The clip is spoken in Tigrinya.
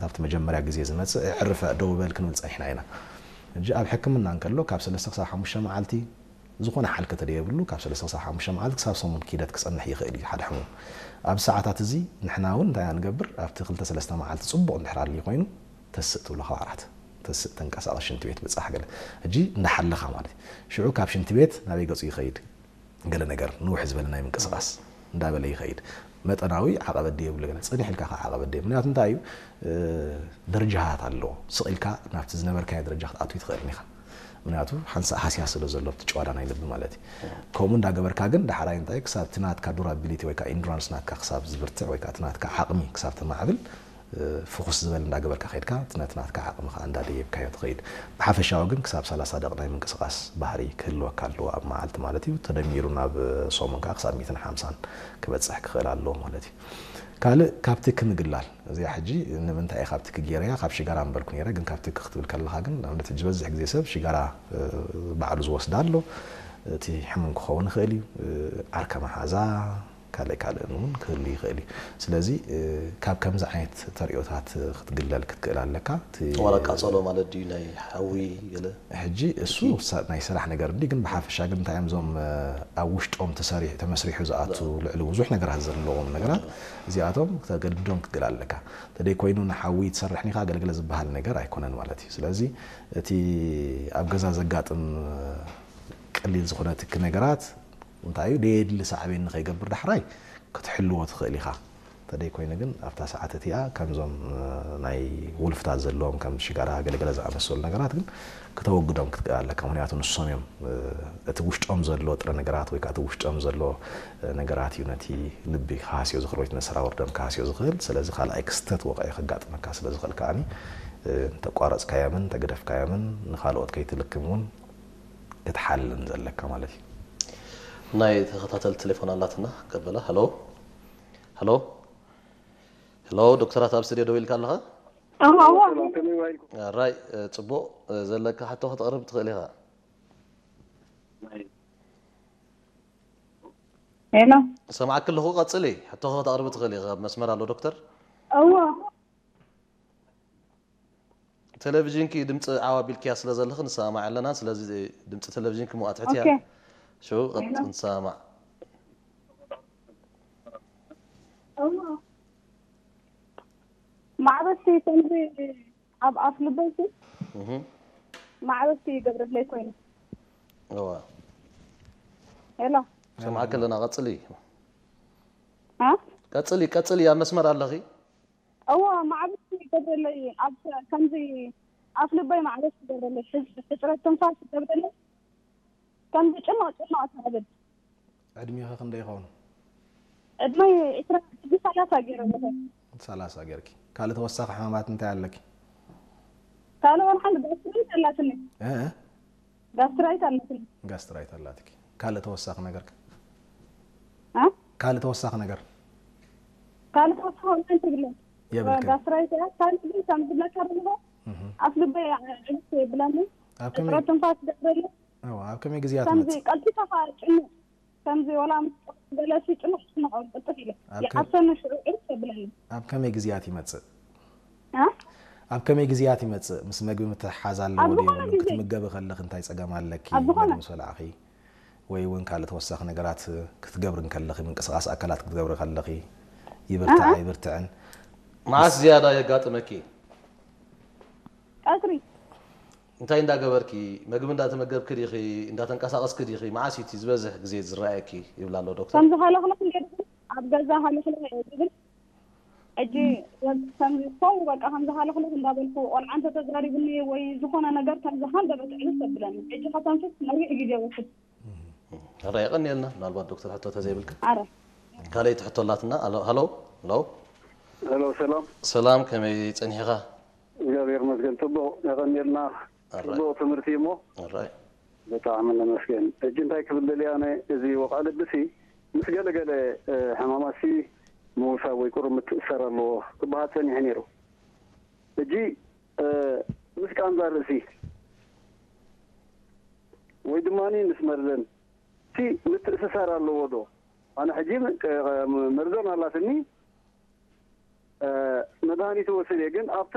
ኣብቲ መጀመርያ ግዜ ዝመጽእ፣ "ዕርፍ፣ ደው በል" ክንብል ጸኒሕና ኢና። ሕጂ ኣብ ሕክምና እንከሎ ካብ ሰለስተ ክሳብ ሓሙሽተ መዓልቲ፣ ዝኾነ ሓልከ ተደየብሉ፣ ካብ ሰለስተ ክሳብ ሓሙሽተ መዓልቲ ክሳብ ሰሙን ክሂደት ክጸንሕ ይኽእል እዩ ሓደ ሕሙም። ኣብ ሰዓታት እዚ ንሕና እውን እንታይ ኢና ንገብር? ኣብቲ ክልተ ሰለስተ መዓልቲ ጽቡቕ እንድሕር ኣልዩ ኮይኑ፣ ተስእ ትብሎ ካብ ዓራት። ተስእ፣ ተንቀሳቐስ፣ ሽንቲ ቤት ብጻሕ ገለ። ሕጂ እንዳሓለኻ ማለት እዩ። ሽዑ ካብ ሽንቲ ቤት ናበይ ገጹ ይኸይድ? ገለ ነገር ንውሕ ዝበለ ናይ ምንቅስቓስ እንዳበለ ይኸይድ። መጠናዊ ዓቐበት ድየብሉ ገለ፣ ጽንሕ ኢልካ ከኣ ዓቐበት ድየ-፣ ምክንያቱ እንታይ እዩ? እ፣ ደረጃታት ኣለዎ። ስቕ ኢልካ ናብቲ ዝነበርካዮ ደረጃ ክትኣትው ኣይትኽእልን ኢኻ። ምክንያቱ ሓንሳእ ሃስያ ስለ ዘሎ ኣብቲ ጭዋዳ ናይ ልቢ ማለት እዩ። ከምኡ እንዳገበርካ ግን ዳሕራይ እንታይ ክሳብ እቲ ናትካ ዱራቢሊቲ ወይ ከዓ ኢንዱራንስ ናትካ ክሳብ ዝብርትዕ ወይ ከዓ እቲ ናትካ ዓቕሚ ክሳብ ተማዕብል፣ እ፣ ፍኹስ ዝበለ እንዳገበርካ ከይድካ እቲ ነቲ ናትካ ዓቕሚ ከዓ እንዳደየብካዮ ትኸይድ። ብሓፈሻዊ ግን ክሳብ ሰላሳ ደቂ ናይ ምንቅስቓስ ባህሪ ክህልወካ ኣለዎ ኣብ መዓልቲ ማለት እዩ። ተደሚሩ ናብ ሰሙን ከዓ ክሳብ ሚእትን ሓምሳን ክበጽሕ ክኽእል ኣለዎ ማለት እዩ። ካልእ ካብ ትኪ ምግላል። እዚኣ ሕጂ ንምንታይ እየ ካብ ትኪ ገይረያ? ካብ ሽጋራ ምበልኩ ነይረ፣ ግን ካብ ትኪ ክትብል ከለኻ ግን ንኣብነት ሕጂ ዝበዝሕ ግዜ ሰብ ሽጋራ፣ እ፣ ባዕሉ ዝወስድ ኣሎ። እቲ ሕሙም ክኸውን ይኽእል እዩ። እ፣ ዓርከ መሓዛ፣ ካልእ ካልእን እውን ክህሉ ይኽእል እዩ። ስለዚ፣ እ፣ ካብ ከምዚ ዓይነት ተርእዮታት ክትግለል ክትክእል ኣለካ። እቲ ዋላ ቃጸሎ ማለት ድዩ ናይ ሓዊ ገለ? ሕጂ እሱ ትኪ? ሳ-፣ ናይ ስራሕ ነገር እንዲ፣ ግን ብሓፈሻ ግን እንታይ እዮም እዞም፣ እ፣ ኣብ ውሽጦም ተሰሪሑ፣ ተመስሪሑ ዝኣቱ ልዕሊ ብዙሕ ነገራት ዘለዎም ነገራት፣ እዚኣቶም ተገድዶም ክትግል ኣለካ። ተደይ ኮይኑ ንሓዊ ትሰርሕ ኒኻ ገለገለ ዝበሃል ነገር ኣይኮነን ማለት እዩ። ስለዚ እቲ ኣብ ገዛ ዘጋጥም፣ እ፣ ቀሊል ዝኾነ ትኪ ነገራት እንታይ እዩ፣ ደየድሊ ሳዕቤን ንኸይገብር ዳሕራይ ክትሕልዎ ትኽእል ኢኻ። እንተደይ ኮይኑ ግን ኣብታ ሰዓት እቲኣ ከምዞም፣ እ፣ ናይ ውልፍታት ዘለዎም ከም ሽጋራ ገለገለ ዝኣመሰሉ ነገራት ግን ክተወግዶም ክትክእል ኣለካ። ምክንያቱ ንሶም እዮም፣ እ፣ እቲ ውሽጦም ዘሎ ጥረ ነገራት ወይ ከዓ እቲ ውሽጦም ዘሎ፣ እ፣ ነገራት እዩ ነቲ ልቢ ክሃስዮ ዝኽእል ወይ እቲ ነሰራውር ደም ክሃስዮ ዝኽእል። ስለዚ ካልኣይ ክስተት ወቕዒ ከጋጥመካ ስለ ዝኽእል ከኣኒ፣ እ፣ እንተቋረጽካዮምን እንተገደፍካዮምን ንኻልኦት ከይትልክም እውን ክትሓልን ዘለካ ማለት እዩ። ናይ ተኸታተል ቴሌፎን ኣላትና ቀበላ። ሄሎ፣ ሄሎ፣ ሄሎ፣ ዶክተራት ኣብ ስቱድዮ ደው ኢልካ ኣለኻ? እዋ እዋ ሰላም ከመይ ዋይልኩም? ራይ፣ እ፣ ጽቡቕ፣ እ፣ ዘለካ ሕቶ ከተቕርብ ትኽእል ኢኻ። ሄሎ ሰማዕክ ኣለኹ፣ ቀጽሊ። ሕቶ ከተቕርብ ትኽእል ኢኻ። ኣብ መስመር ኣሎ ዶክተር። እዋ ቴሌቪዥንኪ ድምፂ ዓው ኣቢልክያ ስለ ዘለኺ ንሰማማዕ ኣለና። ስለዚ ድምፂ ቴሌቪዥንኪ ምውኣ ትሕትያ። ኦኬ ሽው ቀጥ ንሰማማዕ። እዋ ማዕበስቲ ከምዚ ኣብ ኣፍ ልበይቲ እህ። ማዕበስቲ ይገብረለይ ኮይኑ እዋ ሄሎ ሰማዕክ ኣለና። ቀጽሊ። እ ቀጽሊ፣ ቀጽሊ። ኣብ መስመር ኣለኺ። እዋ ማዕበስቲ ይገብረለይ ኣብ ከምዚ ኣፍ ልበይ ማዕበስቲ ይገብረለይ ሕጽ- ሕጽረት ትንፋስ ይገብረለይ ከምዚ ጭንቕ ጭንቕ ትብል ዕድሜኺ ክንደይ ይኸውን? ዕድመይ ዕስራ ሕጂ ሰላሳ ገይረ ኣለኹ ሰላሳ ጌርኪ። ካልእ ተወሳኺ ሕማማት እንታይ ኣለኪ? ካልእ ወላ ሓንቲ ጋስትራይት ኣላትኒ እ? ጋስትራይት ኣላትኒ ጋስትራይት ኣላትኪ። ካልእ ተወሳኺ ነገር ከ? እ? ካልእ ተወሳኺ ነገር? ካልእ ተወሳኺ እንታይ ትብለ የብልክን። ጋስትራይት እያ ካልእ ግን ከም ዝብለካ ዘለኹ እህ። ኣፍ ልበይ ዕብስ የብለኒ ኣብ ከመይ ሕጽረት ትንፋስ ይገብረለይ እዋ፣ ኣብ ከመይ ግዜያ ከምዚ ትመጽእ? ቀልጢፋ ከዓ ጭንቕ ከምዚ ወላ ምስ ገለሲ ጭንቕ ጭንቕ ቅልጥፍ ኢለ ኣብ ከ- ይዓብሰኒ ሽዑ ዕርፍ የብለኒ ኣብ ከመይ ግዜያት ይመጽእ? እ? ኣብ ከመይ ግዜያት ይመጽእ? ምስ መግቢ ምትሕሓዝ ኣለዎ ኣብ ድዩ ዝኾነ የብሉን? ግዜ። ክትምገቢ ከለኺ እንታይ ጸገም ኣለኪ? ኣብ ዝኾነ። መግቢ ምስ በላዕኺ ወይ እውን ካልእ ተወሳኺ ነገራት ክትገብሪ እንከለኺ፣ ምንቅስቓስ ኣካላት ክትገብሪ ከለኺ ይብርትዕ ኣሃ። ኣይብርትዕን? መዓስ ዝያዳ የጋጥመኪ? ቀትሪ እንታይ እንዳገበርኪ? መግቢ እንዳተመገብኪ ዲኺ? እንዳተንቀሳቐስኪ ዲኺ? መዓስ እዩ እቲ ዝበዝሕ ግዜ ዝረኣየኪ? ይብል ኣሎ ዶክተር። ከምዚ ሃለኽለኽ ገይሩ ኣብ ገዛ ሃለኽለኽ እየ ዝብል ሕጂ ከምዚ ሰው በቃ ከምዚ ሃለኽለኽ እንዳበልኩ ቆልዓ እንተተዛሪብኒ ወይ ዝኾነ ነገር ከምዚ ሃንደበት ዕልፍ ተብለኒ ሕጂ ከተንፍስ ነዊሕ ግዜ ወስድ ረ የቐንየልና። ምናልባት ዶክተር ሕቶ ተዘይብልካ ኣረ ካልኣይቲ ሕቶ ኣላትና። ኣሎ፣ ሃሎ፣ ሃሎ። ሄሎ ሰላም። ሰላም፣ ከመይ ጸኒሕኻ? እግዚኣብሔር ይመስገን ጽቡቕ። የቐንየልና። ኣራይ። ጽቡቕ ትምህርቲ እሞ ኣራይ። ብጣዕሚ ነመስገን። ሕጂ እንታይ ክብል ደልየ ኣነ፣ እዚ ወቕዒ ልብሲ ምስ ገለገለ ሕማማትሲ ምውሳብ ወይ ቁሩብ ምትእስሳር ኣለዎ ክበሃል ጸኒሑ ነይሩ። ሕጂ ምስ ቃንዛ ርእሲ ወይ ድማ ምስ መርዘን እቲ ምትእስሳር ኣለዎ ዶ? ኣነ ሕጂ መርዘን ኣላትኒ፣ መድሃኒት እወስድ እየ፣ ግን ኣብታ